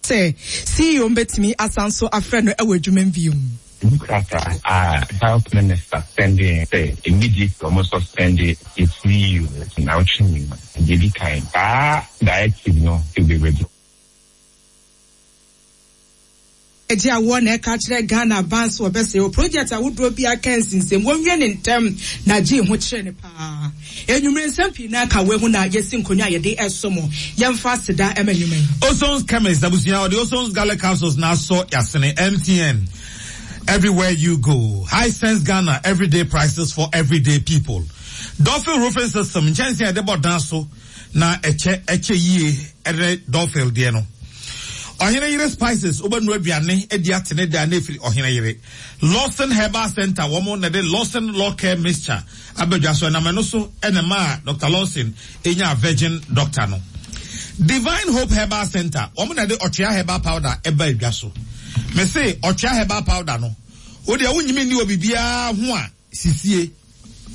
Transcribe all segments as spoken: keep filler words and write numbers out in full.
Sɛ C E O mbɛtumi asan so afrɛ no ɛwɔ adwuma mu bio. Krataa a health minister sending sɛ immediately ɔmo suspend the C E O na ɔtwe mu deɛ di kan, saa directive no to be ready. Agye awoɔ na ɛka kyerɛ Ghana aban so wɔbɛsɛ wɔ project ahodoɔ bi aka nsinsɛm wɔnwie ne ntɛm na gye ho kyerɛ ne paa. Enwumere nsɛm pii na aka wɔ ho na yɛsi nkonnwa a yɛde ɛso mo. Yɛmfa aseda ɛma nnwuma yi. Ozon's Chemist abusua, ɔde Ozon's garlic capsules na asɔ yasene. M T N, everywhere you go. Hisense Ghana, everyday prices for everyday people. Dolphin Roofing System, nkyɛnsee a yɛde bɔ dan so na ɛkyɛ ɛkyɛ yie ɛde Dolphin deɛ no. Ɔhene Yere Spices, wobɛnu aduane adi atene da na efiri Ɔhene Yere. Lawson Herbal Center, wɔn na de Lawson Law Care Mixture abɛdwa so, ɛnam ɛno so ɛna maa Doctor Lawson enya virgin doctor no. Divine Hope Herbal Center, wɔn na de Ɔtwea Herbal Powder ɛba adwa so. Mese Ɔtwea Herbal Powder no, o deɛ wonyimi ni wɔ biribiara ho a sisie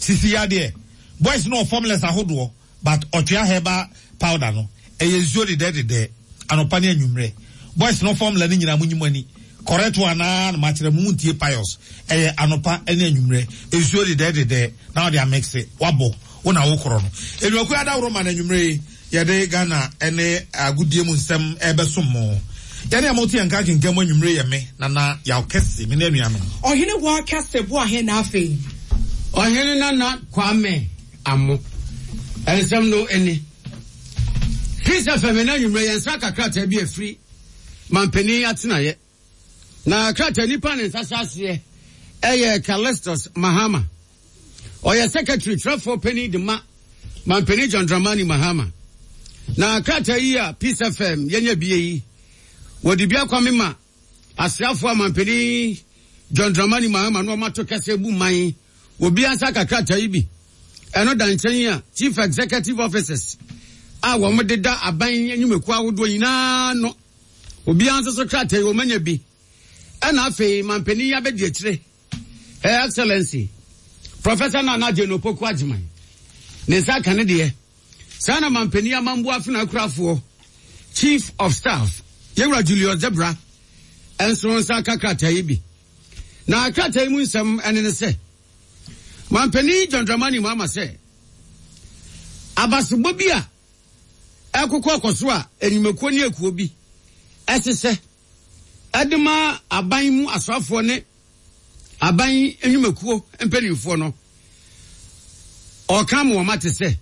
sisi yadeɛ boys no wɔ formulas ahodoɔ, but Ɔtwea Herbal Powder no ɛyɛ nsuo dedɛdedɛ anɔpa ne anwummerɛ. Boys no formula no nyinaa mo nyi mo ani correct one naa na makyerɛ mo mu ntie pious. Ɛyɛ anɔpa ne anwummerɛ nsuo dedɛdedɛ na ɔde amix wabɔ wo na wokorɔ no. Enuakuo adaworo ma no anwummerɛ yi yɛde Ghana ne agodie mu nsɛm ɛbɛsom mo. Yɛne a mote yɛn nka kenkan mu anwummerɛ yɛ me Nana Yaw Kɛse, me ne anuanom. Ɔhene wɔ kɛse bo ahe na afei. Ɔhene Nana Kwame Amo, ɛnsɛm no ani Peace F M na anwummerɛ yɛn nsa ka krataa bi afiri mampanin atenaeɛ, na krataa nipa ne nsa hyɛ aseɛ ɛyɛ Callistus Mahama. Ɔyɛ secretary twerɛfoɔ panin de ma mampanin John Dramani Mahama. Na krataa yi a Peace F M yɛnya bie yi, wɔde bi akwame ma asraafoɔ a mampanin John Dramani Mahama na ɔmato kɛsɛ bu man obi ansa ka krataa yi bi. Ɛno da nkyɛn a chief executive officers a wɔn deda aban nnwumakuo ahodoɔ nyinaa no, obiara nso so krataa yi wɔn anya bi. Ɛna afei mampanin yi abɛdi akyire, Her Excellency Professor Nana Jane Opoku Agyeman ne nsa aka ne deɛ. Saa na mampanin amambu afena akurafoɔ chief of staff, Yɛwura Julius Debra, ɛnso nsa aka krataa yi bi. Na krataa yi mu nsɛm ɛne ne sɛ mampanin John Dramani Mahama sɛ abasobɔ bi a ɛkokɔ kɔ so a enyimekuo ne ekuo bi ɛhyehyɛ ɛde ma aban mu asɔfoɔ ne aban nnwumakuo mpanimfoɔ no, ɔka ma wɔn ate sɛ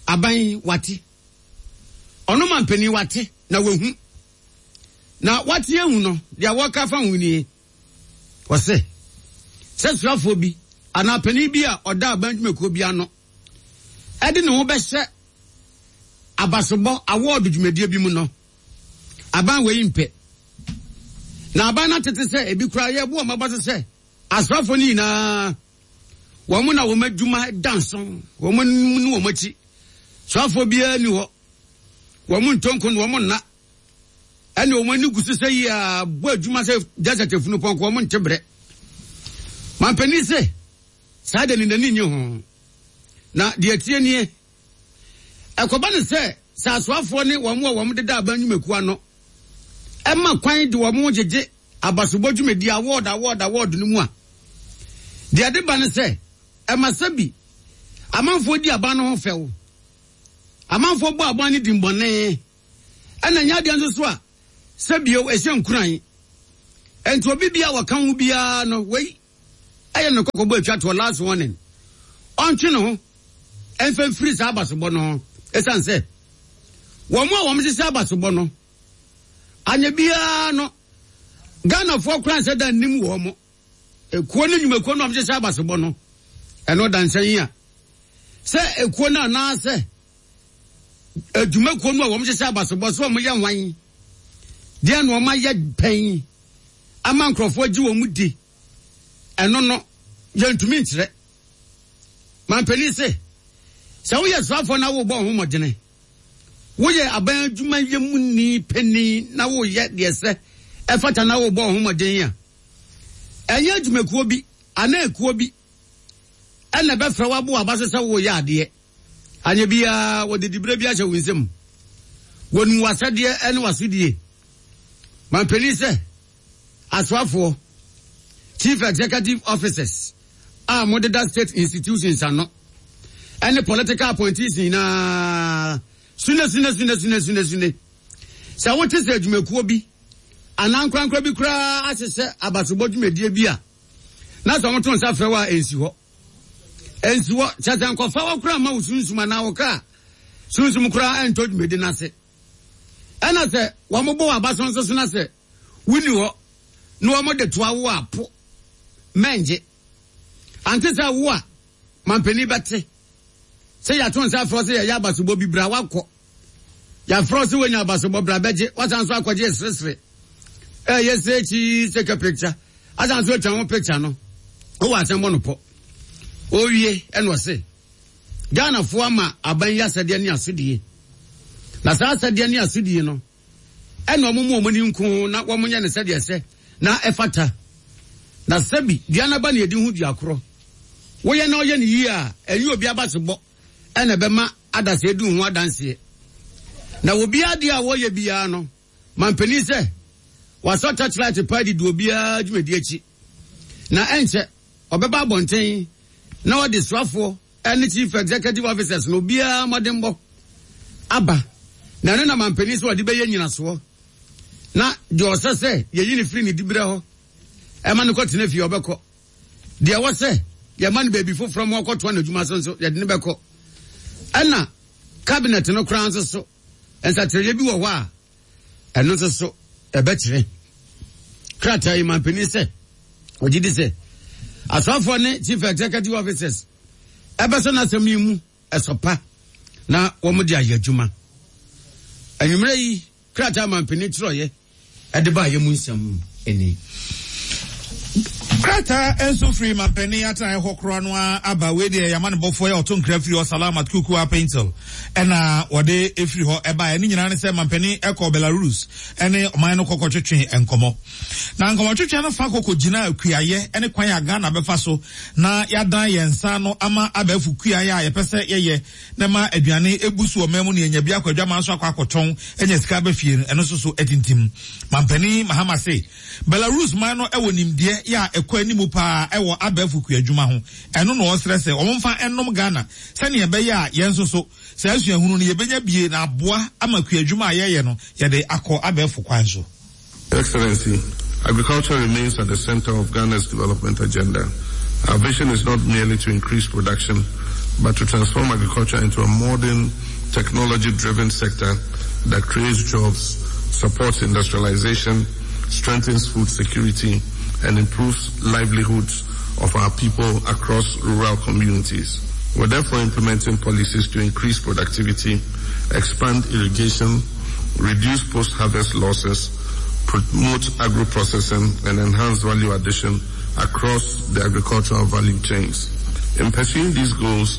aban wate, ɔno mampanin wate na wahu na wate ehu no deɛ wɔka fa ho nie. Wɔsɛ sɛ srafoɔ bi anaa panin bi a ɔda aban dwumakuo bi ano ɛde ne ho bɛhyɛ abasobɔ award dwumadie bi mu no, aban wei mpɛ na aban no atete sɛ ebi koraa yɛbu wɔn aba so sɛ asraafoɔ no nyinaa wɔn na wɔn adwuma da nso, wɔn anim ne wɔn akyi sraafoɔ biara ni hɔ, wɔn ntonko no wɔn nna ɛne wɔn ani gu so sɛ yi a bɔ adwuma sɛ desert efunu pɔnkɔ, wɔn nte brɛ. Mampanin sɛ saa de ne n'ani nye ho na deɛ tie nie, ɛkɔba ne sɛ sɛ asoafoɔ ne wɔn a wɔn deda aban nnwumakuo ano ɛma kwan de wɔn gyegye abasobɔ dwumadi award award award no mu a, deɛ de ba ne sɛ ɛma sɛ bi amanfoɔ di aban no ho fɛw, amanfoɔ bɔ aban no di mbɔne, ɛna nyɛ adeɛ nso so a sɛ bio ɛhyɛ nkuran. Nti obi bia wɔka ho biara no, wei ɛyɛ no kɔkɔbɔ atwa toɔ, last warning, ɔntwe ne ho ɛmfa mfiri saa abasobɔ no ho, ɛsiane sɛ wɔn a wɔn hyehyɛ abasobɔ no anya biara no, Ghanafoɔ koraa nsɛ da nnim wɔn mo ekuo ne nnwumakuo no a wɔn hyehyɛ abasobɔ no. Ɛno da nkyɛn yi a sɛ ekuo no anaasɛ adwumakuo no a wɔn hyehyɛ abasobɔ so wɔn yɛ nwan deɛ na wɔn ayɛ pɛn ama nkurɔfoɔ gye wɔn di, ɛno no yɛntumi nkyerɛ. Mampanin se sɛ woyɛ soafoɔ na wobɔ ho mmɔdene, woyɛ aban adwuma yɛ mu ni panin na woyɛ deɛ sɛ ɛfata na wobɔ ho mmɔden a, ɛnyɛ adwumakuo bi anaa ekuo bi ɛna ɛbɛfrɛ wabo aba so sɛ woyɛ adeɛ. Anyɛ biara wɔde diberɛ bi ahyɛ wo nsam, wɔnim w'asɛdeɛ ne w'asodie. Mampanin sɛ asoafoɔ, chief executive officers a modeda state institutions ano ɛne political appointees nyinaa, sune sune sune sune sune sune. Sɛ wote sɛ adwumakuo bi anaa nkorankora bi koraa ahyehyɛ abasobɔ dwumadie bi a, na sɛ wɔto nsa frɛ wo a, ɛnsi hɔ. Ɛnsi hɔ, kyɛ sɛ nkɔfa wɔ koraa ma wo sunsum anaa wo kra sunsum koraa ɛntɔ dwumadi no ase. Ɛna sɛ wɔmobɔ wɔ abaso nso so na sɛ wonni hɔ na wɔmode toa wo a, po mɛngye. Ante sɛ wo a mampanin bɛte sɛ yɛato nsa frɛ sɛ yɛyɛ abasobɔ bi, bra wakɔ. Yɛafrɛ sɛ woanya abasobɔ, bra bɛgye, wasan so akɔgye seresere. Ɛyɛ sɛ akyi sɛ ka picture, asan so atwa ho picture no, wowɔ asɛm bɔ no pɔ. Owie ɛna ɔse Ghanafoɔ ama aban yi asɛdeɛ ne asodie, na saa asɛdeɛ ne asodie no ɛna ɔmo mu ɔmo ani nko na wɔn nyɛ ne sɛdeɛ sɛ na ɛfata. Na sɛbi dua n'aba na yɛdi ho dua korɔ, woyɛ na ɔyɛ ne yie a, ɛnyɛ obi abasobɔ ɛna ɛbɛma adasɛ edi ho adanseɛ. Na obiara deɛ a wɔyɛ biara no, mampanin sɛ wasɔ torchlight pa didi obiara dwumadi akyi, na ɛnkyɛ ɔbɛba abɔnten na ɔde soafoɔ ɛne chief executive officers na obiara mmɔdenbɔ aba. Na ɛno na mampanin sɛ ɔde bɛyɛ nyinasoɔ, na deɛ ɔsɛ sɛ yɛyi ne firi ne diberɛ hɔ ɛma no kɔtena fie, ɔbɛkɔ. Deɛ ɛwɔ sɛ yɛma no baabi foforɔ ma ɔkɔtoa n'adwuma so nso, yɛde ne bɛkɔ. Ɛna cabinet no koraa nso so, nsakyerɛeɛ bi wɔ hɔ a ɛno nso so ɛbɛkyerɛ. Krataa yi, mampanin sɛ ɔgye di sɛ asɔfoɔ ne chief executive officers ɛbɛsɔ n'asɛm yi mu ɛsɔ pa na wɔn de ayɛ adwuma. Anwummerɛ yi, krataa mampanin twerɛeɛ ɛde ba ayɛ mu nsɛm ɛni. Krataa nso firi mampanin atenaeɛ hɔ koraa no a aba. Wei deɛ, yɛama ne bɔfoɔ yɛ ɔto nkra firi hɔ, Salamat Kuku Paintil, ɛna wɔde efiri hɔ ɛbaeɛ. Ne nyinaa ne sɛ mampanin ɛkɔ Belarus ɛne ɔman no kɔkɔ twetwe nkɔmɔ, na nkɔmɔ twetwe no fa kɔkɔ gyina kuayɛ ɛne kwan a Ghana bɛfa so na yɛadan yɛn nsa no ama abɛɛfo kuayɛ a yɛpɛ sɛ yɛyɛ na ma aduane ebu so wɔ man mu ne yɛnya bi akɔ adwaman so akɔ akɔtɔn ɛnya sika aba fie no. Ɛno nso so ɛtintim. Mampanin Mahama se Belarus man no ɛwɔ nimdeɛ yɛ a ɛkɔ anim paa ɛwɔ abɛɛfo kuadwuma ho. Ɛno na ɔsrɛ sɛ wɔn mfa ɛnom Ghana sɛnea ɛbɛyɛ a yɛn nso so saa asuahunu no yɛbɛnya bie na aboa ama kuadwuma a yɛyɛ no yɛde akɔ abɛɛfo kwan so. Excellency, agriculture remains at the center of Ghana's development agenda. Our vision is not merely to increase production, but to transform agriculture into a modern, technology-driven sector that creates jobs, supports industrialization, strengthens food security, and improves livelihoods of our people across rural communities. We're therefore implementing policies to increase productivity, expand irrigation, reduce post-harvest losses, promote agro-processing, and enhance value addition across the agricultural value chains. In pursuing these goals,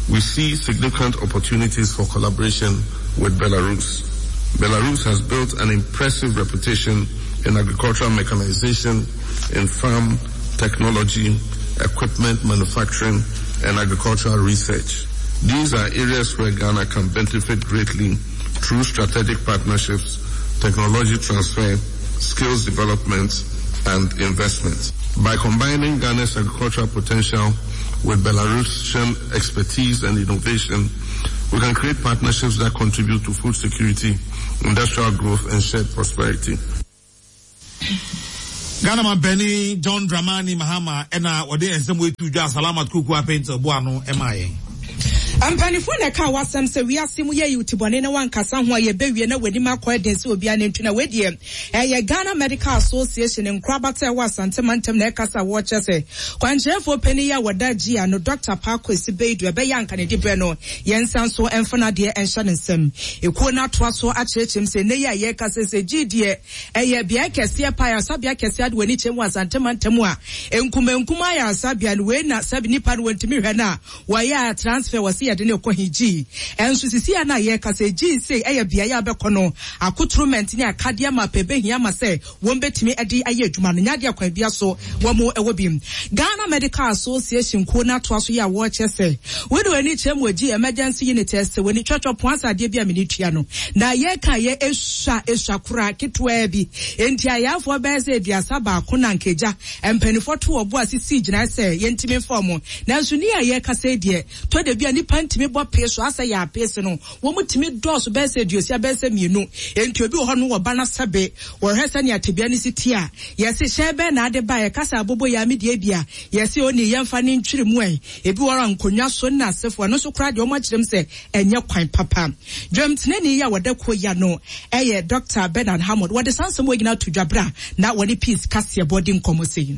we see significant opportunities for collaboration with Belarus. Belarus has built an impressive reputation in agricultural mechanization, in farm technology, equipment manufacturing, and agricultural research. These are areas where Ghana can benefit greatly through strategic partnerships, technology transfer, skills development, and investment. By combining Ghana's agricultural potential with Belarusian expertise and innovation, we can create partnerships that contribute to food security, industrial growth, and shared prosperity. Ghana mampanin John Dramani Mahama ɛna wɔde nsɛm wetu dwa. Salamat Kuku Apɛntil boa no ɛma yɛn. Mpanimfoɔ na ɛka wasɛm sɛ wiase mu yɛ tibɔne na wankasa ho a, yɛbɛwie na w'anim akɔ ɛden sɛ obiara ne ntu. Na wedeɛ ɛyɛ Ghana Medical Association nkorabata ɛwɔ Asante mantam na ɛkasa. Wɔkyɛ sɛ kwankyerɛfoɔ panin yi a wɔda gye ano, Doctor Paa Kwesi Baidoo, ɛbɛyɛ anka ne de berɛ no yɛnsa nso ɛmfa no adeɛ ɛnhyɛ ne nsam. Ekuo no atoa so akyerɛkyerɛm sɛ nnɛ yi a yɛreka sɛ sɛ gye deɛ ɛyɛ beae kɛseɛ pa, ayaresabea kɛseɛ ade w'ani kyerɛ mu wɔ Asante mantam a nkumankum ayaresabea no wei na sɛbi nipa no wɔntumi hwɛ no a, wɔyɛ a transfer wɔ se. yɛde ne kɔ higi ɛnso sisi a na yɛka sɛ gyi sɛ ɛyɛ beaeɛ a bɛkɔ no akotoromɛnti ne akadeɛ ma pɛ bɛhia ma sɛ wɔn bɛtumi de ayɛ adwuma no nyadeɛ kwan bia so wɔn mo ɛwɔ bi. Ghana Medical Association kuo no atoa so yɛ a wɔrekyɛ sɛ wode w'ani kyerɛ mu agyi emergency unit ɛsɛ w'ani twɛtwɛ po asa adeɛ bi a mene tua no na yɛka yɛ esua esua koraa ketewa bi enti ayafoɔ bɛyɛ sɛ aduasa baako na nkagya mpanimfoɔ to ɔbo a sisi gyina sɛ yɛntumi mfa ɔmo nanso ni a yɛka sɛ deɛ tɔ da bi a nipa ntumi bɔ pee so asɛ yɛ apee se no wɔn tumi dɔɔso bɛyɛ sɛ aduosia bɛyɛ sɛ mmienu enti obi wɔ hɔ no wɔ ba na sɛbe wɔhwɛ sɛ nea tebea ne si ti a yɛse hyɛn bɛn na ade ba yɛkasa abobo yɛ amedie bi a yɛse oni yɛmfa ne ntwiri mu ɛ ebi wɔ nkonnwa so na asefo ɛno nso koraa deɛ ɔmo akyerɛm sɛ ɛnyɛ kwan papa. Dwamtenani yi a wɔda kuo ya no ɛyɛ Doctor Bernard Hammond wɔde saa nsɛm wɔ nyinaa to dwabra na wɔne Peace kaseɛbɔ di nkɔmmɔ sei.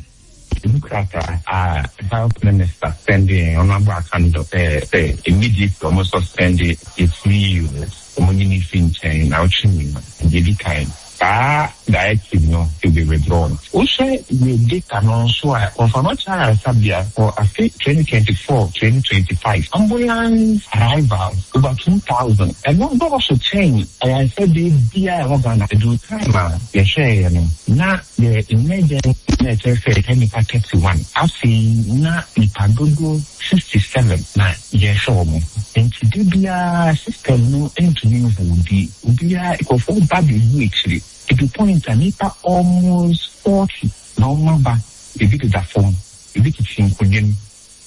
Krataa a Health Minister sending Honorable Akandoh sɛ sɛ immediately ɔmo suspend yɛ C E O, ɔmo nyi ne fi nkyɛn na ɔtwe mu deɛ di kan, saa directive no to be withdrawn. Wohwɛ yɛ data no nso a, Komfo Anokye ayaresabea for afe twenty twenty-four twenty twenty-five, ambulance arrivals over two thousand. Ɛno dɔɔso kyɛn ayaresabea biara a ɛwɔ Ghana. Ɛduru time a yɛhwɛeɛ no na yɛ emergency na ɛkyerɛ sɛ ɛyɛ nipa thirty-one. Afei na nipa dodoɔ sixty-seven na yɛhwɛ wɔn. Nti de biara system no ntumi nhold. Obiara nkurɔfoɔ ba bɛgu akyire. Ebi point a nipa almost forty na wɔn aba, ebi deda fam, ebi tete nkonnwa mu.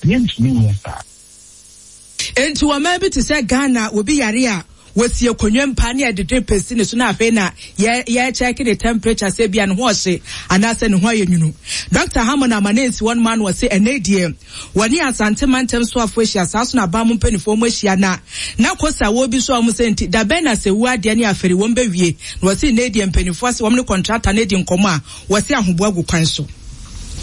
Yɛntumi nyɛ saa. Enti wɔn bi te sɛ Ghana, obi yare a wɔsi akonnwa mpa ne yɛde pesi ne so na afei na yɛ yɛkyɛke ne temperature sɛ bia ne ho ɔhye anaasɛ ne ho ayɛ nwunu. Doctor Hammond ama ne nsi wɔn ma no wɔse ɛnɛ deɛ wɔne Asante mantam soafo ahyia, saa so na aban mu mpanimfoɔ mu ahyia na na kosa wɔ bi so a wɔn sɛ nti dabɛn na sɛ wu adeɛ ne afɛri wɔn bɛwie na wɔse ɛnɛ deɛ mpanimfoɔ ase wɔn ne contractor ne di nkɔmɔ a wɔse ahoboa gu kwan so.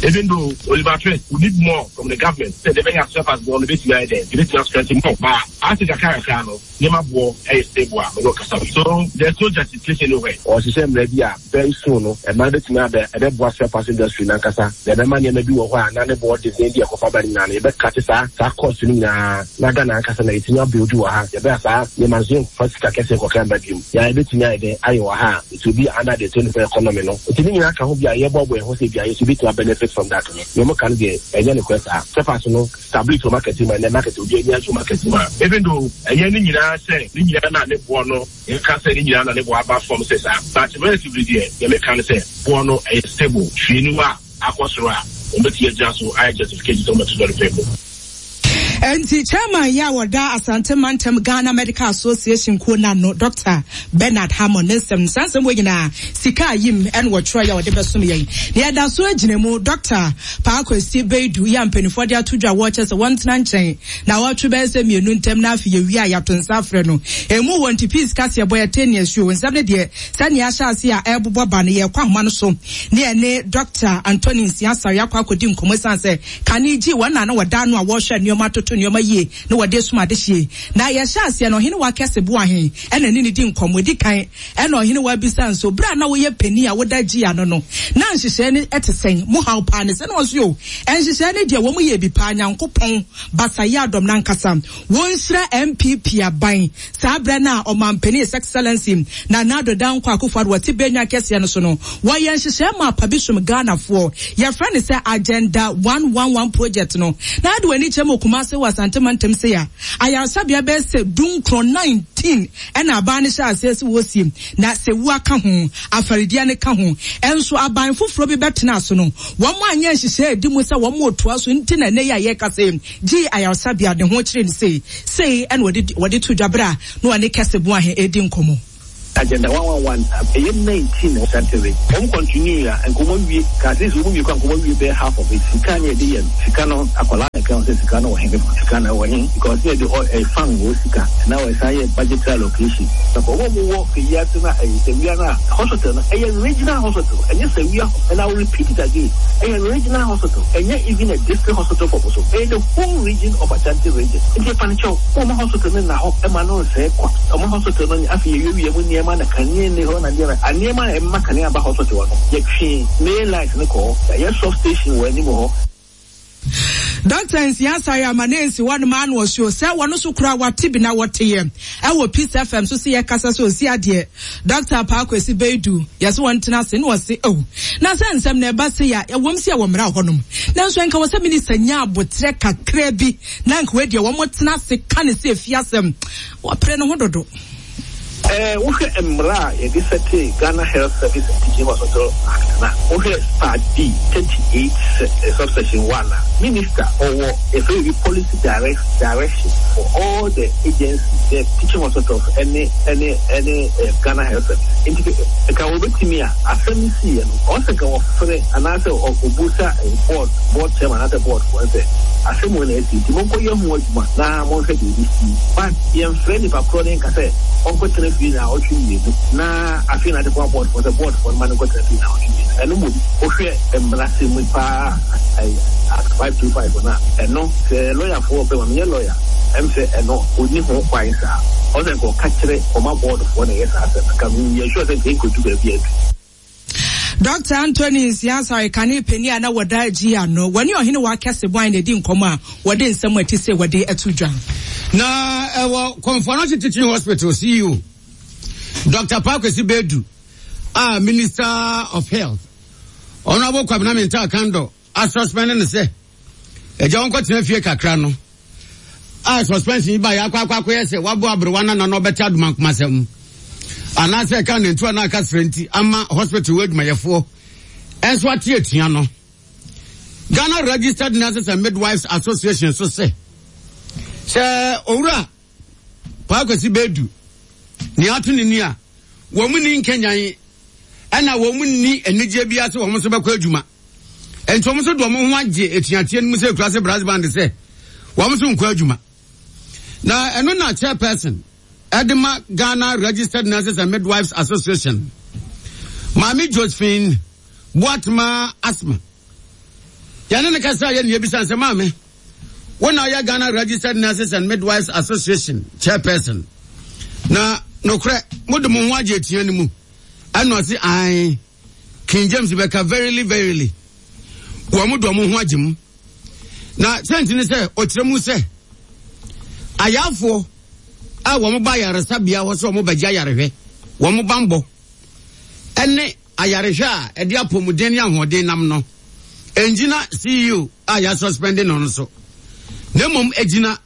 Even though Oliver Twist, we need more from the government. Say they may have surface on the base there, they need to strengthen more. But as a kakra no, nneɛma boɔ ɛyɛ stable a mene ɔkasa, so there's no justification anywhere. Ɔhyehyɛ mmerɛ bi a very soon no ɛma bɛtumi abɛ ɛbɛboa spare parts industry nankasa na ɛbɛma nneɛma bi wɔ hɔ a na ne boɔ den bi ɛkɔfa ba no nyinaa no yɛbɛkate saa saa cost no nyinaa na Ghana ankasa na yɛtumi abuild wɔ ha. Yɛbɛyɛ saa nneɛma nso yɛmfa sika kɛseɛ kɔkra mba biom yɛa yɛbɛtumi ayɛ dɛn ayɛ wɔ ha a it will be under the twenty four economy no. Nti ne nyinaa ka ho bi a yɛboaboa yɛn ho sɛ bi a yɛso bɛtumi benefit from that no. Nea ɔmo ka no deɛ ɛnyɛ nokorɛ. Saa spare parts no stability wɔ market mu a ɛnɛ market obi ani agye wɔ market mu a even though ɛyɛ ne nyinaa sɛ ne nyinaa na ne boɔ no yɛka sɛ ne nyinaa na ne boɔ aba fam sɛ saa, but relatively deɛ yɛmeka no sɛ boɔ no ɛyɛ stable. Hwee ni hɔ a akɔ soro a wɔbɛtumi agyina so ayɛ justification sɛ wɔbɛto dɔre pɛ mu. Nti chairman yi a wɔda Asante Mantam Ghana Medical Association kuo n'ano, Doctor Bernard Hammond ne nsɛm saa nsɛm wɔ nyinaa sika ayim ɛna wɔtwerɛ yɛ a wɔde bɛsom yɛn na yɛda so agyina mu. Doctor Paakwesi Beidu yi a mpanimfoɔ de ato dwa a wɔrekyɛ sɛ wɔntena nkyɛn na wɔtwe bɛyɛ sɛ mmienu ntam na afei yɛwie a yɛato nsa afrɛ no emu wɔ nti Peace kaseɛ bɔ yɛte ne asuo nsɛm no deɛ sɛnea ahyɛ ase a ɛrebobɔ ba no yɛkɔ ahoma no so ne yɛne Doctor Anthony Nsia Asare akɔ akɔdi nkɔmmɔ esiane sɛ kane gye wɔn na na wɔda ano a wɔrehwɛ nneɛma atoto nneɛma yie na wɔde sum adehyie na yɛhyɛ aseɛ no ɔhene wa kɛse boahen ɛna ne ne di nkɔmmɔ di kan ɛna ɔhene wa bisa nso bere a na woyɛ panin a woda gyi ano no na nhyehyɛe no ɛte sɛn mo haw paa ne sɛ na ɔso yo nhyehyɛe no deɛ wɔn yɛ bi paa. Nyankopɔn basayɛ adɔm nankasa wɔnhyira N P P aban saa berɛ no a ɔmampanin His Excellency Nana Addo Dankwa Akufo-Addo wɔte bɛnwa kɛseɛ no so no wɔyɛ nhyehyɛe ma apa bi som Ghanafoɔ yɛfrɛ no sɛ Agenda one one one project no na ade w'ani kyerɛ mu Kumase wɔ Asante mantam se a ayaresabea bɛyɛ sɛ dunkron nineteen ɛna aban no hyɛ aseɛ sɛ wɔsie na sɛ wu aka ho afarideɛ no ka ho ɛnso aban foforɔ bi bɛtena so no wɔn anyɛ nhyehyɛe edi mu sɛ wɔn otoa so nti na ɛnɛ yi a yɛka sɛ gye ayaresabea ne ho kyerɛ no sei sei ɛna wɔde wɔde to dwa bere a na wɔne kɛse boahe edi nkɔmmɔ. Agenda one one one ɛyɛ nineteen Asante wɔn continue a nkɔmɔ wie kaase sɛ wɔn wie kɔ nkɔmɔ wie bɛyɛ half of it. Sika ne yɛde yɛ no sika no akwadaa na ɛka sɛ sika no wɔ he, sika no wɔ he, because ne yɛde ɔ ɛfan wɔ sika na wɔsan yɛ budgetary allocation na kɔ wɔn wɔ eyi ase na ɛyɛ Sewua na hospital no ɛyɛ regional hospital, ɛnyɛ Sewua, and I will repeat it again, ɛyɛ regional hospital, ɛnyɛ even a district hospital for Boso, ɛyɛ the whole region of Ashanti Region. Nti ɛfa wɔn hospital no na hɔ ɛma no nsɛɛ kwa ɔmo hospital no. Afei yɛwiewie mu nneɛma na kanea ni hɔ na nneɛma a nneɛma a ɛma kanea ba hospital hɔ no yɛtwe main light no kɔ hɔ, yɛayɛ sub station wɔ anim hɔ. Doctor Nsia Asare ama ne nsi hɔ nom ano ɔsuo sɛ wɔno so kura wate bi na wɔteyɛ ɛwɔ Peace F M so sɛ yɛkasa sɛ ɔsi adeɛ Doctor Paakwesi Beidu yɛsɛ wɔn tena ase na wɔse oh na sɛ nsɛm na ɛba se ya ɛwɔm si ɛwɔ mmara hɔ nom nanso ɛnka wɔ sɛ minister nya abotrɛ kakra bi na nka wɔdeɛ wɔn tena ase ka ne sɛ efi asɛm wɔpere ne ho dodo. Eh, wohwɛ mmara a yɛde sɛte Ghana Health Service and Teaching Hospital Act na wohwɛ Part B thirty-eight subsection one a minister ɔwɔ yɛfrɛ bi policy direct direction for all the agencies, the teaching hospitals ɛne ɛne ɛne Ghana Health Service. Nti nka wɔbɛtumi a asɛm si yɛ no ɔsɛ nka wɔfrɛ anaasɛ ɔbusa board board chairman anaasɛ board foɔ sɛ asɛm wɔ na ɛsi nti monkɔ yɛ ho adwuma na monhwɛ deɛ ɛbi si but yɛmfrɛ nipa korɔ ne nka sɛ ɔnkɔtena fie na ɔtwe mmienu na afei na ade kɔ board for the board for man nkɔtena fie na ɔtwe mmienu ɛno mu wohwɛ mmara sɛ mu paa Act five two five na ɛno sɛ lawyer foɔ bɛma menyɛ lawyer ɛm sɛ ɛno ɔni ho kwan saa ɔsɛ nka ɔka kyerɛ ɔma board foɔ na ɛyɛ saa asɛm ka yɛ sure sɛ nka ɛnkɔdu baabi adu. Doctor Anthony Nsia Asare kane pani a na wɔda agyi ano wɔne ɔhene wɔ akɛse bɔn na ɛdi nkɔmmɔ a wɔde nsɛm a ɛte sɛ wɔde ato dwa. Na ɛwɔ Komfo Anokye Teaching Hospital C E O Doctor Paakwesi Beidu a Minister of Health Honorable Kwabena Mintah Akandoh asuspend ne sɛ agya wɔn kɔtena fie kakra no a suspension yi ba yɛ akɔ akɔ akɔyɛ sɛ wabɔ aberewa na nana ɔbɛte adomankomasɛm anaasɛ ɛka ne ntoa na aka srɛ nti ama hospital wɔ adwumayɛfoɔ ɛnso ate atua no. Ghana Registered Nurses and Midwives Association so sɛ sɛ owura Paakwesi Beidu ne ato ne ni a wɔn mu ni nkenyan ɛna wɔn mu ni anigye bi ase wɔn nso bɛkɔ adwuma nti wɔn nso de wɔn ho agye etuateɛ no mu sɛ ekura sɛ brass band sɛ wɔn nso nkɔ adwuma na ɛno na chairperson ɛde ma Ghana Registered Nurses and Midwives Association Maame Josephine Boatema Asma yɛne ne kasa yɛ nea ebisa nsɛm maame wɔn na ɔyɛ Ghana Registered Nurses and Midwives Association chairperson na nokorɛ mo de mo ho agye etua no mu ɛna ɔsi ae King James bɛka verily verily wɔn mo de wɔn ho agye mu na sɛnti ne sɛ ɔkyerɛ mu sɛ ayafoɔ a wɔn ba ayaresabea hɔ sɛ wɔn bɛgye ayarehwɛ wɔn bambɔ ɛne ayarehwɛ a ɛde apɔmuden ne ahoɔden nam no ɛngyina C E O a yɛasuspend no no so na mmom ɛgyina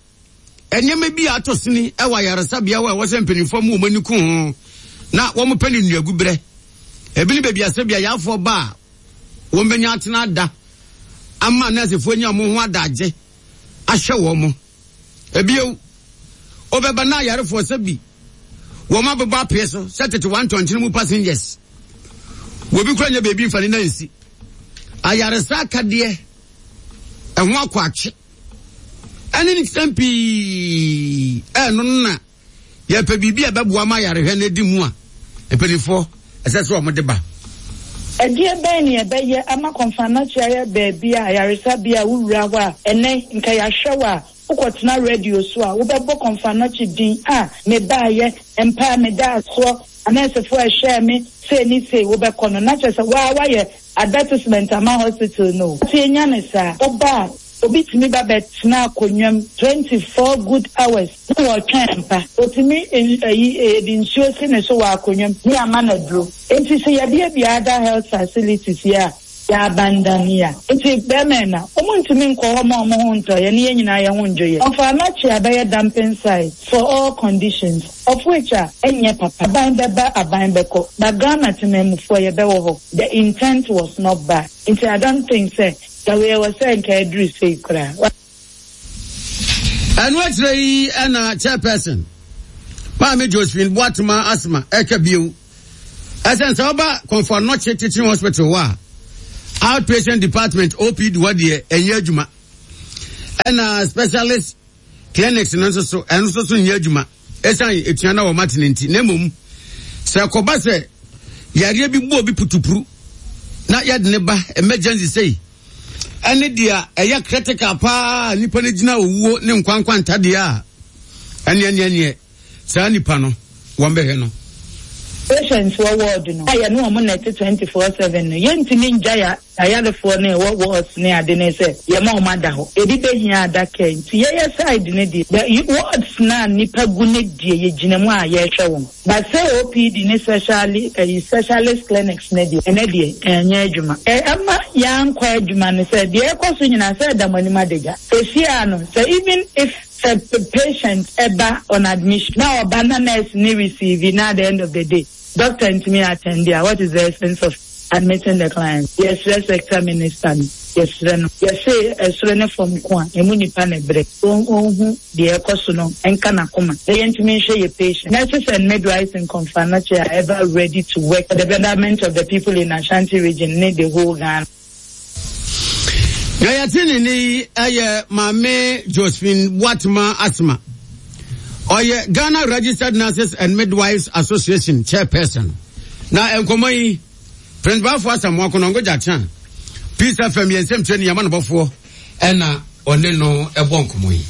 nneɛma bi a atɔ sini ɛwɔ ayaresabea hɔ a ɛwɔ sɛ mpanimfoɔ mu wɔn ani ko ho na wɔn pɛ ne nnuagu berɛ ebi ne baabi asɛ bi ayafoɔ ba a wɔn bɛnya atena ada ama nɛɛsefoɔ nya wɔn ho adagye ahyɛ wɔn mo ebiew ɔbɛba na ayarefoɔ sɛ bi wɔn abɛbɔ apee so sɛ tete wɔn ntɔnkyene mu passengers wɔbi kura nya beebi nfa ne nan nsi ayaresa akadeɛ ɛho akɔ akye ɛne ne nsɛm pii ɛno na yɛpɛ biribi a ɛbɛboa ma ayarehwɛ no adi mu a mpanimfoɔ ɛsɛ sɛ wɔn de ba. Ɛdeɛ bɛn ne ɛbɛyɛ ama Komfo Anokye ayɛ baabi a ayaresabea a wowura hɔ a ɛnɛ nka yɛahwɛ wɔ a wokɔtena radio so a wobɛbɔ Komfo Anokye din a mebaayɛ mpa a meda soɔ anɛɛsefoɔ a ɛhwɛɛ me sei ne sei wobɛkɔ no na kyerɛ sɛ waa wayɛ advertisement ama hospital no. Nti enya ne saa woba a obi tumi ba bɛtena akonnwa mu twenty-four good hours na wɔtwɛn mpa otumi ɛyi ɛdi nsuo si ne so wɔ akonnwa mu ne ama na duro nti sɛ yɛbiebie other health facilities yi a yɛ a nti bɛrima na wɔn ntumi nkɔ hɔ ma wɔn ho ntɔ yɛ ne yɛn nyinaa yɛn ho ndwo yɛ. Komfo Anokye abɛyɛ dumping site for all conditions of which a ɛnyɛ papa aban bɛba aban bɛkɔ but Ghana temamufoɔ yɛbɛwɔ hɔ the intent was not bad nti I don't think sɛ yɛwɔ wɔ sɛ nka aduru sei koraa. Ɛno akyerɛ yi ɛna chairperson Maame Josephine Boatema Asma ɛka bio ɛsɛn sɛ ɔba Komfo Anokye Teaching Hospital hɔ a outpatient department O P D hɔ deɛ ɛnyɛ adwuma ɛna specialist clinics no nso so ɛno nso so nyɛ adwuma ɛsan etua na wɔn atene nti na mmom sɛ kɔba sɛ yareɛ bi bu obi putupuru na yɛde ne ba emergency sei ɛne deɛ ɛyɛ critical paa nipa no gyina owuo ne nkwankwa ntadeɛ a ɛneɛ neɛ neɛ saa nipa no wɔn bɛhwɛ no. Patients wɔ ward no a yɛne wɔn na ɛte twenty four seven no, yɛntumi ngya ya ayarefoɔ no ɛwɔ wards ne ade ne sɛ yɛma wɔn ada hɔ. Ebi behia ada care nti yɛyɛ side ne deɛ, the wards na nipa gu ne deɛ, yɛgyina mu a yɛrehwɛ wɔn. But sɛ O P D ne speciali ɛyi specialist clinics ne deɛ, ɛnɛ deɛ ɛnyɛ adwuma. Ɛma yɛankɔ adwuma no sɛ deɛ ɛkɔ so nyinaa sɛ ɛda mo anim adagya. Sesia no sɛ even if sɛ patient ɛba on admission na ɔba na nurse ne receive na at the end of the day doctor ntumi attend a, what is the essence of admitting the client? Yɛsrɛ sector minister no, yɛsrɛ no, yɛse ɛsoro ne fam ko a emu nipa na brɛ ɔnhu deɛ ɛkɔ so no, ɛnka n'akoma na yɛntumi nhwɛ yɛ patient. Nurses and midwives in Komfo Anokye are ever ready to work for the betterment of the people in Ashanti Region ne the whole Ghana. Na yɛte ne ne ɛyɛ Maame Josephine Boatema Asma, ɔyɛ Ghana Registered Nurses and Midwives Association chairperson. Na nkɔmmɔ yi, Prince Bafo Asamoah Konongo Gyakye Peace F M yɛn nsɛm kyerɛ ne yɛma no bɔfoɔ ɛna ɔne no ɛbɔ nkɔmmɔ yi.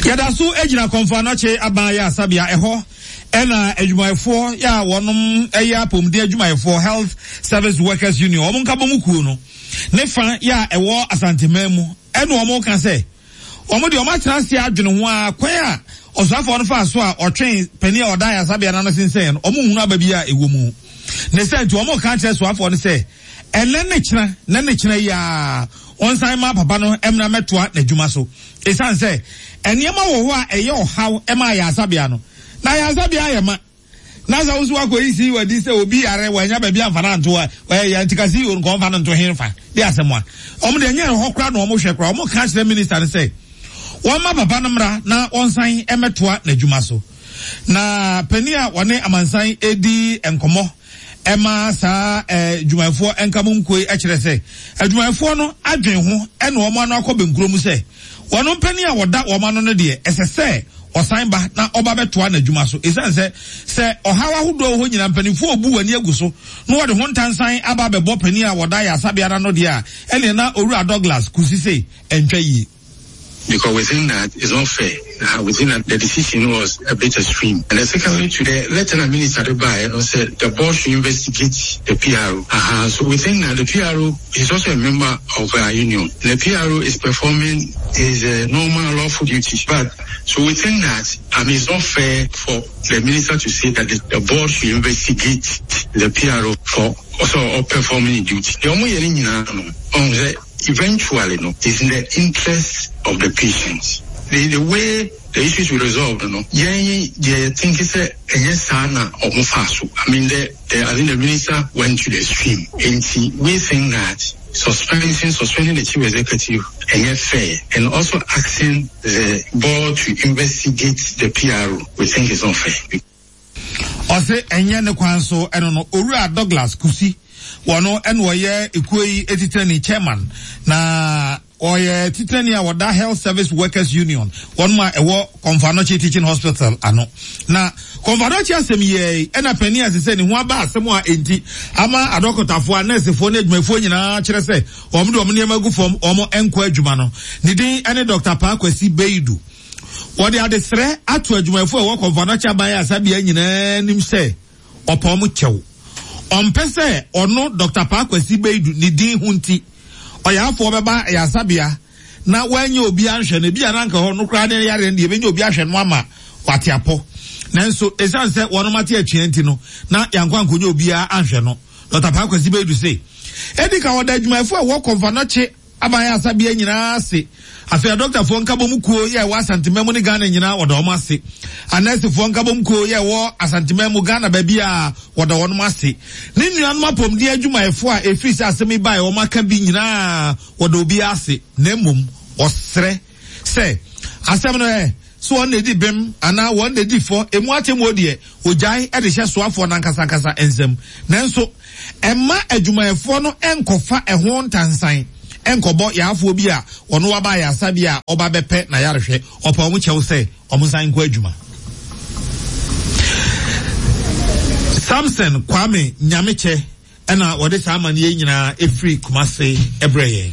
Yɛda so gyina Kɔmfo Anɔkye Aban Ayaresabea ɛhɔ, ɛna adwumayɛfoɔ yɛ a wɔnom ɛyɛ apɔmuden adwumayɛfoɔ, Health Service Workers Union, wɔn nka bɔ mu kuo no ne fa yɛ a ɛwɔ Asanteman mu, ɛna wɔn ka sɛ wɔn deɛ wɔn atena ase adwene ho a, kwan a ɔsoafoɔ no fa so a ɔtwɛn panin a ɔda ayaresabea n'ano sensɛn no, wɔn nhunu aba bi a ɛwɔ mu ne sɛ nti wɔn ka kyerɛ soafoɔ no sɛ ɛnɛ ne kyena ne ne kyena yi a wɔnsan ma papa no mmra mɛtoa n'adwuma so, ɛsiane sɛ nneɛma wɔ hɔ a ɛyɛ ɔhaw ɛma ayaresabea no, na ayaresabea ayɛ ma na sɛ woso akɔ yi si wadi sɛ obi yare wɔanya baabi amfa no anto a ɛyɛ nti ka si nkɔ mfa no nto he fa de asɛm a ɔmo deɛ nyɛ hɔ koraa na ɔmo hwɛ koraa. Ɔmo ka kyerɛ minister no sɛ wɔmma papa no mmra na wɔnsan mmɛtoa n'adwuma so. Na panin a wɔne amansan edi nkɔmmɔ ɛma saa ɛɛ adwumayɛfoɔ nka mu nkuo yi kyerɛ sɛ adwumayɛfoɔ no adwen ho ɛna wɔn ano akɔ bɛnkuro mu sɛ wɔn mpanin a wɔda wɔn ano no deɛ, ɛsɛ sɛ ɔsan ba na ɔba bɛtoa n'adwuma so, ɛsiane sɛ sɛ ɔhaw ahodoɔ wɔ hɔ nyinaa, mpanimfoɔ obu w'ani agu so na wɔde ho ntansan aba abɛbɔ panin a wɔda ayaresabea no deɛ a, ɛnneɛ na Owura Douglas Kusi se ɛntwa yie. Because we think that it's not fair. Uh, we think that the decision was a bit extreme. And then secondly, to the letter the minister by said the board should investigate the P R O. Uh-huh. So we think that the P R O is also a member of our union. The P R O is performing his uh, normal lawful duty. But so we think that, I mean, it's not fair for the minister to say that the, the board should investigate the P R O for also or performing duty. The only eventually, no, it's in the interest of the patients. The, the way the issues will resolve, no, yeah, yeah, think it's a yes, I mean, the, the, I think the minister went to the extreme. And we think that suspending, suspending the chief executive and fair, and also asking the board to investigate the P R O, we think is unfair. Ɔsɛ ɛnyɛ ne kwan so. Ɛno no Owura Douglas Kusi, wɔno ɛna ɔyɛ ekuo yi etitani, chairman, na ɔyɛ titani a wɔda Health Service Workers Union wɔn a ɛwɔ Kɔmfo Anɔkye Teaching Hospital ano. Na Kɔmfo Anɔkye asɛm yɛ ɛna panin a sɛ ne ho aba asɛm a enti ama adɔkotafoɔ a nɛɛsefoɔ ne adwumayɛfoɔ nyinaa kyerɛ sɛ wɔn de wɔn nneɛma gu fam, wɔn nkɔ adwuma no, ne din ɛne Doctor Paa Kwasi Beidu. Wɔde adesrɛ ato adwumayɛfoɔ a ɛwɔ Kɔmfo Anɔkye aban ayaresabea nyinaa anim sɛ ɔpɔ wɔn kyɛw, ɔmpɛ sɛ ɔno Doctor Paa Kwasi Beidu ne din ho nti ɔyaafoɔ bɛba ayaresabea na wɔanyɛ obi ahwɛ no. Ebi a nanka hɔ no koraa ne yare no deɛ, ebɛnya obi ahwɛ no ama wate apɔ, nanso ɛsiane sɛ wɔn ate atua nti no na yankɔ ankɔnya obiara ahwɛ no. Doctor Paa Kwasi Beidu se edi ka wɔda adwumayɛfoɔ a ɛwɔ Kɔmfo Anɔkye aban ayaresabea nyinaa ase. Afei adɔktafoɔ nkabom kuo yɛ ɛwɔ Asanteman mu ne Ghana nyinaa, wɔda wɔn ase. Anɛɛsefoɔ nkabom kuo yɛ ɛwɔ Asanteman mu, Ghana baabi a, wɔda wɔn ase. Ne nuanom apɔmuden adwumayɛfoɔ a efiri sɛ asɛm yi baa wɔn aka bi nyinaa, wɔda obi ase. Na mmom ɔsrɛ sɛ asɛm no ɛ so wɔn na edi bɛm anaa wɔn na edi fɔ emu atemmuo deɛ, ogyae ɛde hyɛ soafoɔ n'ankasankasa nsam, nanso ɛma adwumayɛfoɔ no nkɔfa ɛho ntansan nkɔbɔ yaafoɔ bi a ɔno waba ayaresabea a ɔba bɛpɛ na yarehwɛ. Ɔpa ɔmo kyɛw sɛ ɔmo nsan nkɔ adwuma. Samson Kwame Nyamekyɛ ɛna wɔde saa amanneɛ nyinaa efiri Kumase ɛbrɛ yɛn.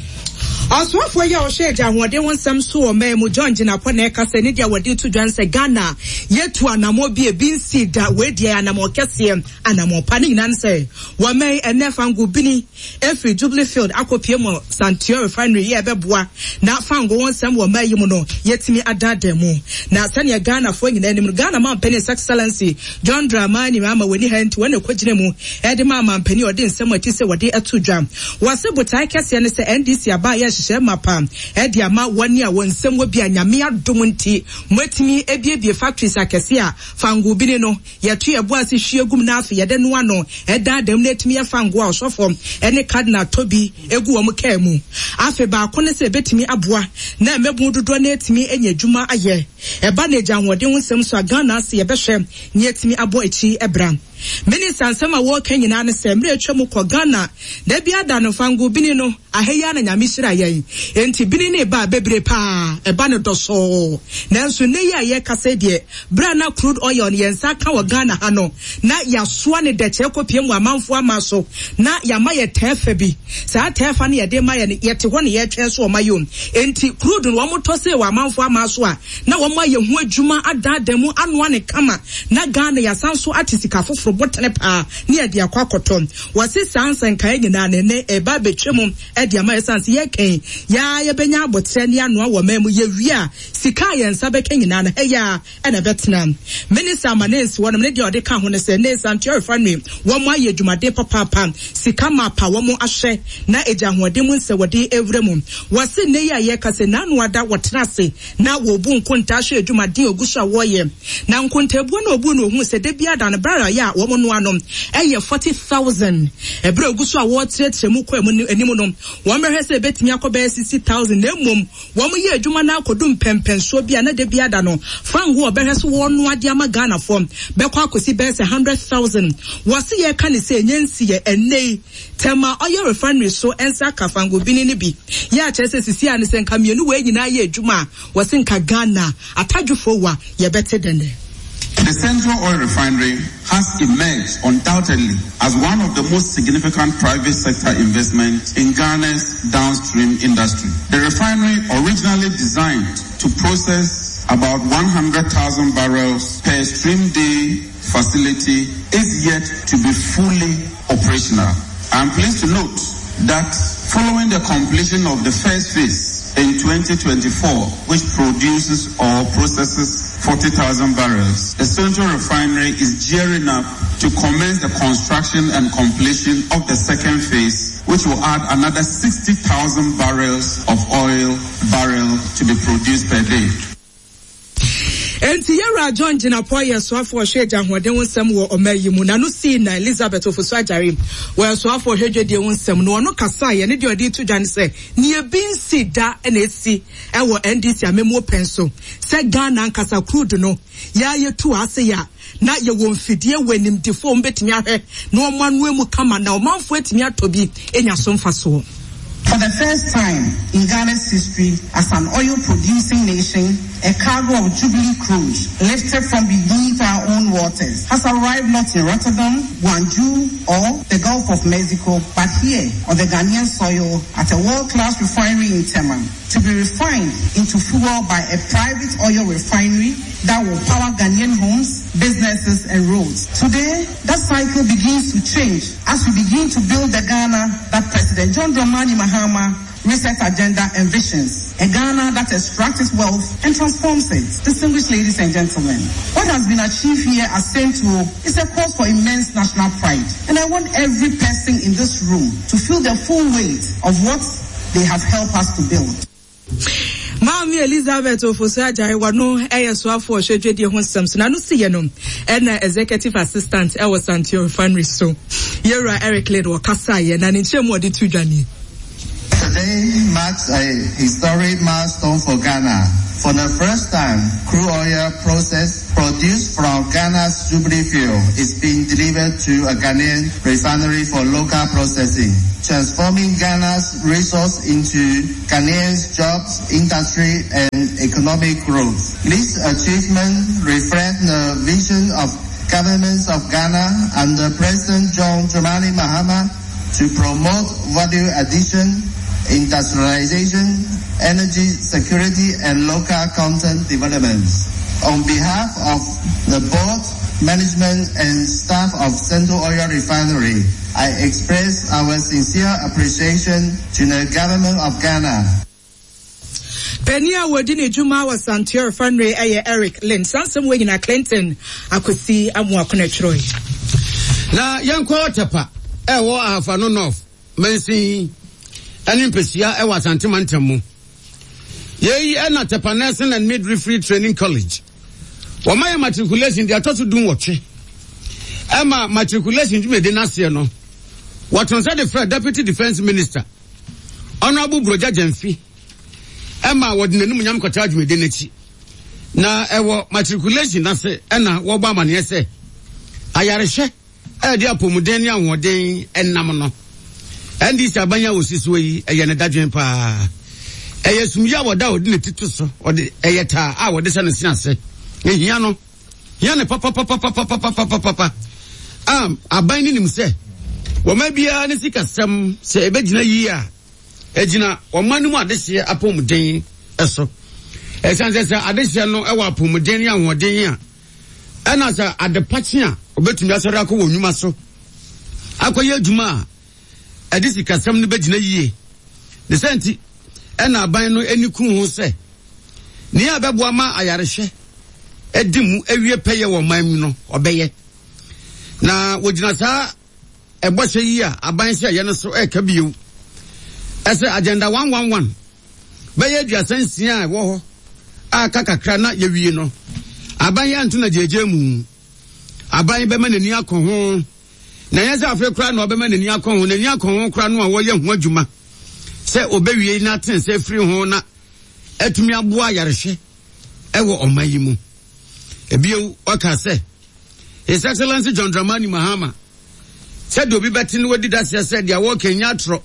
Ɔsoafoɔ yi a ɔhwɛ agya ahoɔden ho nsɛm so wɔ ɔman mu, John Jinapor, na ɛka sɛ ne deɛ wɔde to dwa sɛ Ghana yɛtu anammɔ bi ebi nsi da. Wei deɛ anammɔ kɛseɛ, anammɔ pa ne nyinaa ne sɛ wɔman ɛnɛ fango bini efiri Jubilee Field akɔpie mu Santua Refinery yɛ ɛbɛboa na fango ho nsɛm wɔ ɔman yi mu no yɛtumi adaadaa mu. Na sɛnea Ghanafoɔ nyinaa anim no, Ghana mampanin, His Excellency John Dramani Mahama, wɔ ni ha nti wɔn na ɛkɔgyina mu ɛde ma mampanin ɔde nsɛm a ɛti sɛ wɔde ato dwa. Wɔse botae kɛseɛ ne sɛ N D C aba yɛ hyehyɛ mapa ɛde ama wɔne a wɔn nsɛm wɔ bi a Nyame adom nti moatumi ebiebie factories akɛse a fango bini no yɛto yɛ bo ase hwie gum na afei yɛde noa no ɛdaadaa mu na etumi yɛ fango a ɔsɔfo ɛne cardinal tobi egu wɔn kaa mu. Afei baako ne sɛ ebetumi aboa na mmɛbun dodoɔ na etumi anya adwuma ayɛ. Ɛba na egya ahoɔden ho nsɛm so a, Ghana ase yɛbɛhwɛ ne etumi abɔ akyi ɛbra. Minista nsɛm a wɔreka nyinaa ne sɛ mmerɛ atwa mu kɔ Ghana da bi ada no fango bini no ahɛyɛ na Nyame hyira yɛn enti bini ne ba bebree paa ɛba no dɔsɔɔ. Nanso ne yi a yɛkasa deɛ, berɛ na crude oil no yɛn nsa ka wɔ Ghana ha no na yɛasoa ne dɛkyɛ kɔpie mu amanfoɔ ama so na yɛama yɛ tɛɛfa bi. Saa tɛɛfa no yɛde ma yɛ no, yɛte hɔ ne yɛtwɛn so ɔma yom. Enti crude no wɔn tɔ se wɔ amanfoɔ ama so a na wɔn ayɛ ho adwuma adaadaa mu anoa ne kama na Ghana yɛasan so ate sika foforɔ bɔtene paa ne yɛde akɔ akɔtɔ. Wɔse saa nsɛnkaeɛ nyinaa ne ne ɛba abɛtwa mu ɛde ama yɛsan sɛ yɛkɛn yaa yɛbɛnya abɔkyerɛ ne anoa wɔ man mu. Yɛwie a, sika a yɛn nsa bɛka nyinaa no ɛyɛ a ɛna ɛbɛtena. Minister ama ne nsi wɔnom ne deɛ ɔde ka ho ne sɛ ne Santua Refinery wɔn ayɛ adwumaden papaapa, sika mapa wɔn ahyɛ na egya ahoɔden mu nsɛ wɔde ewura mu. Wɔse ne yi a yɛka sɛ n'ano ada wɔtena ase na wɔbu nkontaa hwɛ adwumaden ogu so a wɔreyɛ na nkontabuo na obu no ohun sɛ debi ada no barrel yɛ a wɔn noa no ɛyɛ forty thousand. Ɛberɛ ogu so a wɔrekyerɛkyerɛ mu kɔ mu anim no, wɔn bɛhwɛ sɛ ebetumi akɔ bɛyɛ sixty thousand. Na mmom wɔn yɛ adwuma no akɔdu mpɛmpɛnsoɔ bi a na debi ada no fango ɔbɛhwɛ so wɔn noa de ama Ghanafoɔ bɛkɔ akɔsi bɛyɛ sɛ hundred thousand. Wɔsi yɛ ka ne sɛ enye nsi yɛ ɛnɛ yi Tema Oil Refinery so nsa aka fango bini ne bi yɛ akyerɛ sɛ sisi a ne sɛ nka mmienu wɔ nyinaa yɛ adwuma a wɔsi nka Ghana atadwofoɔ wa yɛbɛte dɛnɛ. The Central Oil Refinery has emerged undoubtedly as one of the most significant private sector investments in Ghana's downstream industry. The refinery, originally designed to process about one hundred thousand barrels per stream day facility, is yet to be fully operational. I am pleased to note that following the completion of the first phase in twenty twenty-four, which produces or processes forty thousand barrels, the Central Refinery is gearing up to commence the construction and completion of the second phase, which will add another sixty thousand barrels of oil barrel to be produced per day. Enti yɛwura John Jinapor yɛ soafoɔ ɔhwɛ agya ahoɔden ho nsɛm wɔ ɔma yi mu na no sii na Elizabeth Ofosu Agyare wɔyɛ soafoɔ ɔhwɛ dwadie ho nsɛm no ɔno kasa yɛ ne deɛ ɔde to dwa ne sɛ nea ebi nsi da ɛna esi ɛwɔ N D C amemmuo pɛn so sɛ Ghana ankasa crude no yɛa yɛtu ase yɛ a na yɛwɔ mfidie wɔ animdifoɔ mbɛtumi ahwɛ na wɔn anoa mu kama na ɔmanfoɔ atumi atɔ bi enya so mfasoɔ. For the first time in Ghana's history as an oil producing nation, a cargo of Jubilee crude lifted from beneath our own waters has arrived not in Rotterdam, Guangzhou, or the Gulf of Mexico, but here on the Ghanaian soil at a world-class refinery in Tema to be refined into fuel by a private oil refinery that will power Ghanaian homes, businesses, and roads. Today, that cycle begins to change as we begin to build the Ghana that President John Dramani Mahama Reset Agenda envisions. A Ghana that extracts its wealth and transforms it. Distinguished ladies and gentlemen, what has been achieved here at Sentuo is a cause for immense national pride. And I want every person in this room to feel the full weight of what they have helped us to build. Maame Elizabeth Ofosu Agyare wano ɛyɛ soafo ɔhwɛ dwadie ho nsɛm so n'ano si yɛ no ɛna executive assistant ɛwɔ Santua Refinery so, yɛwura Eric Lid, wɔkasa yɛ na ne nkyɛn mu ɔde to dwa nie. Today marks a historic milestone for Ghana. For the first time, crude oil process produced from Ghana's Jubilee Field is being delivered to a Ghanaian refinery for local processing, transforming Ghana's resource into Ghanaian's jobs, industry, and economic growth. This achievement reflects the vision of governments of Ghana under President John Dramani Mahama to promote value addition, industrialization, energy security, and local content developments. On behalf of the board, management, and staff of Sentuo Oil Refinery, I express our sincere appreciation to the government of Ghana. Penny a wɔdi ne dwuma wɔ Sentuo Refinery ɛyɛ Eric Lynn. Sansɛm wɔ nyina Clinton Akwasi Amoako na twerɛ. Na yɛnkɔ Tepa ɛwɔ Ahafo North mansin ɛne mpɛsua ɛwɔ Asante mantam mu. Yei ɛna Tepa Nursing and Midwifery Training College. Wɔma yɛ matriculation deɛ ɛtɔ so dum wɔtwe. Ɛma matriculation dwumadi n'aseɛ no, wɔto nsa de frɛ Deputy Defence Minister, Honourable Brogya Genfi, ɛma wɔde n'anim nyam kɔtaa dwumadi n'akyi. Na ɛwɔ matriculation n'ase ɛna wɔbɔ amaneɛ sɛ ayarehwɛ ɛde apɔmuden ne ahoɔden ɛnam no. N D C aban a wɔsi soɔ yi, ɛyɛ ne dadwen paa. Ɛyɛ sumyi a wɔda a wɔde ne ti to so, ɔde ɛyɛ taa a wɔde hyɛ ne se ase. Ehia no, hia ne papapapapapapapapa. A aban ne nim sɛ wɔn biara ne sikasɛm sɛ ɛbɛgyina yie a, ɛgyina wɔn no mu adehyeɛ apɔmuden ɛso. Ɛsiane sɛ sɛ adehyeɛ no ɛwɔ apɔmuden ne ahoɔden a, ɛna sɛ adepakye a obetumi asɔre akɔ wɔn nnwuma so akɔyɛ adwuma a ɛde sikasɛm no bɛgyina yie. Ne sɛ nti ɛna aban no ani kun ho sɛ nea ɛbɛboa ma ayarehwɛ ɛdi mu awie pɛyɛ wɔ ɔman mu no, ɔbɛyɛ. Na wɔgyina saa ɛbɔhyɛ yi a aban hyɛ yɛ no so ɛɛka bio ɛsɛ Agenda one one one bɛyɛ aduasa nsia a ɛwɔ hɔ a aka kakra na yɛwie no, aban yɛ anto na gyegye mu. Aban bɛma n'ani akɔ ho, na ɛnyɛ sɛ afei koraa na ɔbɛma n'ani akɔ ho. N'ani akɔ ho koraa no a, wɔyɛ ho adwuma sɛ ɔbɛwie na aten sɛ firi ho na atumi aboa ayarehwɛ ɛwɔ ɔman yi mu. Ebio ɔka sɛ His Excellency John Dramani Mahama, sɛdeɛ obi bɛte no wadi daseɛ sɛ deɛ wɔka nya atorɔ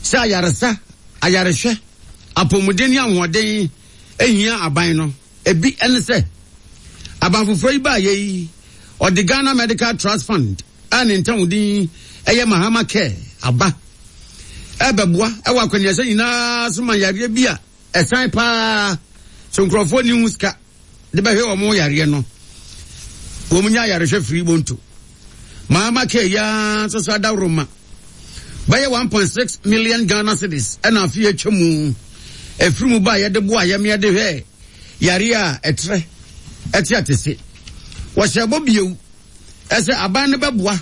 sɛ ayaresa, ayarehwɛ, apɔmuden ne ahoɔden ehia aban no, ebi ɛne sɛ aban foforɔ yi baa yɛ yi, ɔde Ghana Medical Trust Fund a ne ntamuden ɛyɛ Mahama Care aba ɛbɛboa ɛwɔ akɔneasa nyinaa so ma yareɛ bi a ɛsan paa so nkurɔfoɔ ni ho sika de bɛhwɛ wɔn yareɛ no, wɔn nya ayarehwɛ firi bonto. Mahama Care yaa nso so adaworoma bɛyɛ one point six million Ghana cedis ɛna afi atwa mu efiri mu ba a yɛde boa yɛm de hwɛ yareɛ a ɛtrɛ ɛte atese. Wɔhyɛ bɔ bio ɛsɛ aban no bɛboa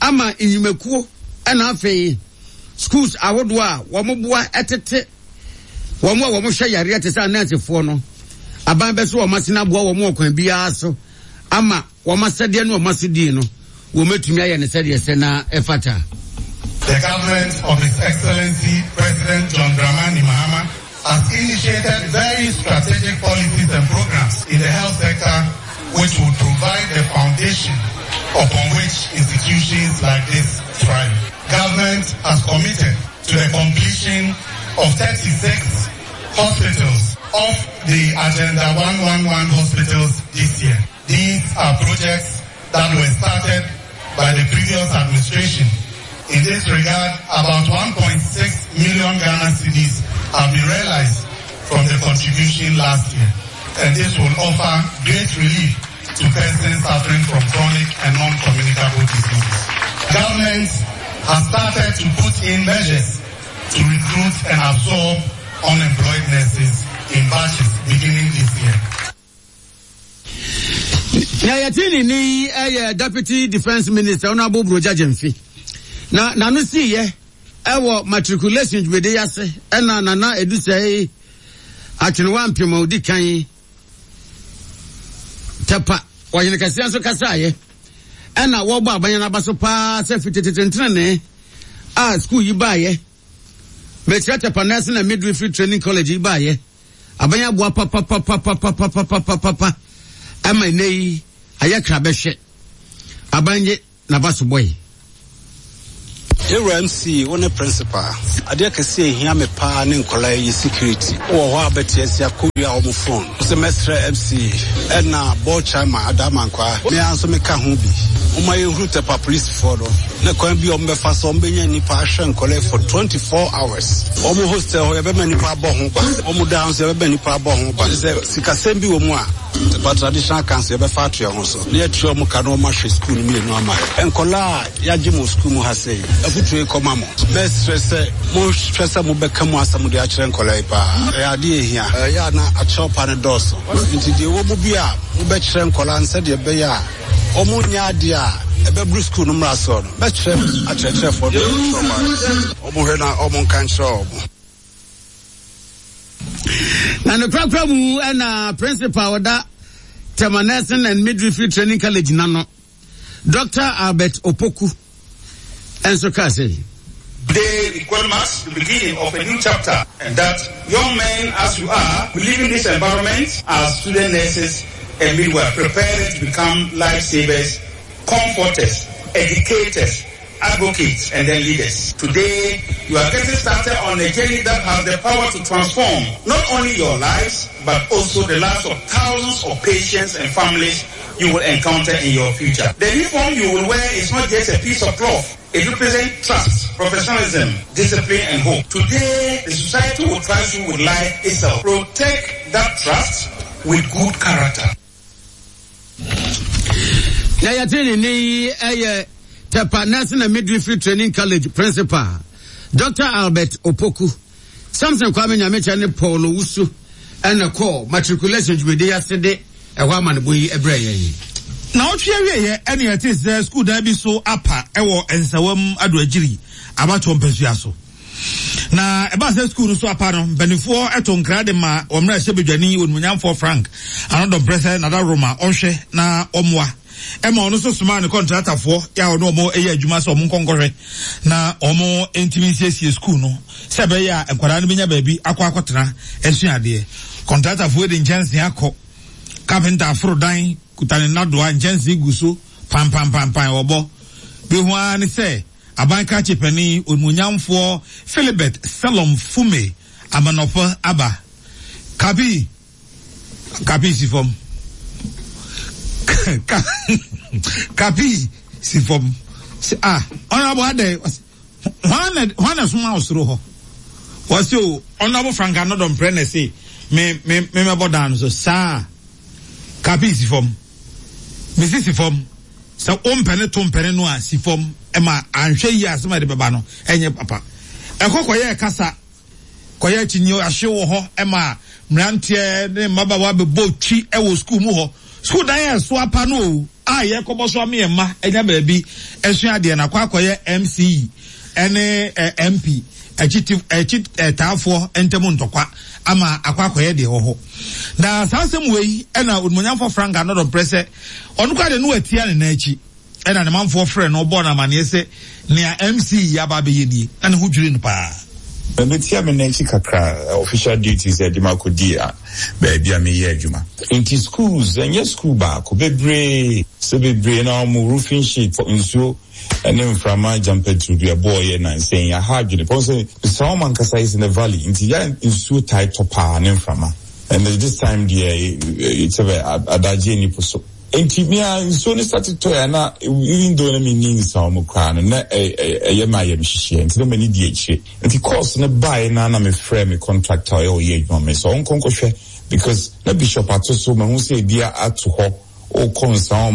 ama nnwumakuo ɛna afei schools ahodoɔ a wɔn boa ɛtete wɔn a wɔn hwɛ yareɛ te sɛ anɛɛsefoɔ no, aban bɛ so wɔn asene aboa wɔn wɔ kwan biara so ama wɔn asɛdeɛ ne wɔn asodie no wɔn atumi ayɛ ne sɛdeɛ sɛ na ɛfata. The government of His Excellency President John Dramani Mahama has initiated very strategic policies and programs in the health sector which will provide the foundation upon which institutions like this thrive. Government has committed to the completion of thirty-six hospitals of the Agenda one one one hospitals this year. These are projects that were started by the previous administration. In this regard, about one point six million Ghana cedis have been realized from the contribution last year. And this will offer great relief to persons suffering from chronic and non-communicable diseases. Government has started to put in measures to recruit and absorb unemployed nurses in batches beginning this year. Na yɛte ne ni ɛyɛ Deputy Defence Minister Honourable Brogya Genfi na n'ano siiɛ ɛwɔ matriculation dwumadi yi ase. Ɛna Nana Edusei Atwenewa Mpem a odi kan, Tɛpa ɔhene kɛseɛ nso kasaeɛ, ɛna wɔbɔ abanya n'aba so paa sɛ fitetetentenene a school yi baayɛ, mɛkyerɛ Tɛpa Nursing and Midwifery Training College yi baayɛ, abanya boa papapapapapapapapa ɛma nnɛ yi ayɛ krabɛhwɛ. Aban ye n'aba so bɔyi. Yɛwura M C, wo ne principal, adeɛ kɛseɛ ehia me paa ne nkɔla yi security wɔ hɔ a bɛte asi akɔwia wɔn phone sɛ mɛsrɛ M C ɛna board chairman Adamankwa, me ara nso meka ho bi. Momma yɛnhuru Tepa polisifoɔ no ne kwan bi a wɔbɛfa so wɔbɛnya nnipa ahwɛ nkɔlɛ for twenty-four hours. Wɔn hostel hɔ yɛbɛma nnipa abɔ ho ban. Wɔn dan nso yɛbɛma nnipa abɔ ho ban. Sɛ sikasɛm bi wɔ mu a, Tepa Traditional Council yɛbɛfa ato yɛn ho so na yɛatua wɔn ka na wɔahwɛ sukuu no mmienu ama yɛn. Nkɔlaa a yɛagye mo sukuu mu ha sei, afotuo yi kɔma mo. Mɛsrɛ sɛ monhwɛ sɛ mobɛka mu asɛm de akyerɛ nkɔlaa yi paa. Ɛyɛ adeɛ ɛhia. Ɛyɛ a na akyerɛw pa no dɔɔso. Nti deɛ ɛwɔ mu bi a mobɛkyerɛ nkɔlaa no sɛdeɛ ɛbɛyɛ a wɔn nyɛ adeɛ a ɛbɛburu sukuu no mmara soɔ no, mɛkyerɛ akyerɛkyerɛfoɔ no wɔn hwɛ na wɔn nka nkyerɛ wɔn. Na ne korakora mu ɛna principal ɔda Tema Nursing and Midwifery Training College nano, Doctor Albert Opoku, ɛnso kaa sɛ, Today it marks the beginning of a new chapter, and that young men as you are, believe in this environment as student nurses and midwives, preparing to become lifesavers, comforters, educators, advocates, and then leaders. Today, you are getting started on a journey that has the power to transform not only your lives, but also the lives of thousands of patients and families you will encounter in your future. The uniform you will wear is not just a piece of cloth. It represents trust, professionalism, discipline, and hope. Today, the society will trust you with life itself. Protect that trust with good character. Na yɛte ne ne yi ɛyɛ Tepa Nursing and Midwifery Training College Principal, Doctor Albert Opoku. Samson Kwame Nyamekyɛ ne Paul Owusu ɛna kɔɔ matriculation dwumadi ase de ɛhɔ amanebɔ yi ɛbrɛ yɛn. Na ɔtwe awieɛ ɛne ɛte sɛ sukuu dan bi so apa ɛwɔ Nsawam Adoagyiri abatoɔ mpasua so. Na ɛbaa sɛ sukuu no so apa no, mpanimfoɔ ɛto nkra de ma wɔn mmerɛ hyɛ badwani onimonyamfoɔ Frank Anodɔmprɛ sɛ Nada Roma ɔnhwɛ na ɔmmoa. Ɛma ɔno nso somaa ne kɔntratafoɔ yɛ a ɔne wɔn ɛyɛ adwuma sɛ wɔn nkɔnkɔhwɛ na wɔn ntumi nsiesie sukuu no sɛ ɛbɛyɛ a nkwadaa no bɛnya baabi akɔ akɔtena asua adeɛ. Kɔntratafoɔ de nkyɛnsee akɔ, kapenta aforo dan kuta ne nnadoa, nkyɛnsee gu so pampampampan wɔbɔ. Bi ho ara ne sɛ aban krakye panin onimonyamfoɔ Philibert Selom Fume amanɔpɔ aba. Kapi, kapi si fam. Kapi si fam. Ah, honorable Ade, hwan na soma osoro hɔ? Wɔsi o, honorable Frank Anodɔmprɛ na se me me me mɛbɔ dan no so saa. Kapi si fam. Mesi si fam. Sɛ o mpɛne to mpɛne no a si fam ɛma anhwɛ yi asɛm a ɛde bɛba no ɛnyɛ papa. Ɛkɔ kɔyɛ kasa kɔyɛ kyinyi ahye wɔ hɔ ɛma mmeranteɛ ne mmabaawa bɛbɔ twi ɛwɔ sukuu mu hɔ. Sukuu dan yɛ so apa no o a yɛkɔbɔ so ame mma ɛnya baabi ɛsua adeɛ na akɔ akɔyɛ M C E ɛne M P akyi akyi taafoɔ ntɛm ntɔkwa ama akɔ akɔyɛ deɛ wɔ hɔ. Na saa asɛm wei ɛna onimonyamfoɔ Frank Anodɔmprɛ sɛ ɔno koraa de no atia ne nan akyi ɛna ne manfoɔ frɛ no ɔbɔɔ no amanneɛ sɛ nea M C E aba abɛyɛ nie na ne ho dwiri no paa. Metia me n'akyi kakra official duties ɛde ma kɔdi a baabi a meyɛ adwuma. Nti schools ɛnyɛ school baako bebree sɛ bebree na ɔmo roofing sheet nsuo ɛne mframa gyampaturu bi ɛbɔɔ yɛ nansɛn aha adwene pɔn sɛ saa ɔmo ankasa is in the valley nti yɛ nsuo tae tɔ paa ne mframa. And this time deɛ sɛ adagye nipo so. Nti me a nsuo ne start tɔ yɛ na even though na me ni nsa ɔmo koraa no na ɛyɛ ma yɛ mhyehyɛ nti na m'ani di akyire. Nti course ne bae na na me frɛ me contractor ɔyɛ ɔyɛ adwuma me so ɔnkɔ nkɔhwɛ because na bishop ato so mahu sɛ ebi ato hɔ ɔkɔ nsa ɔma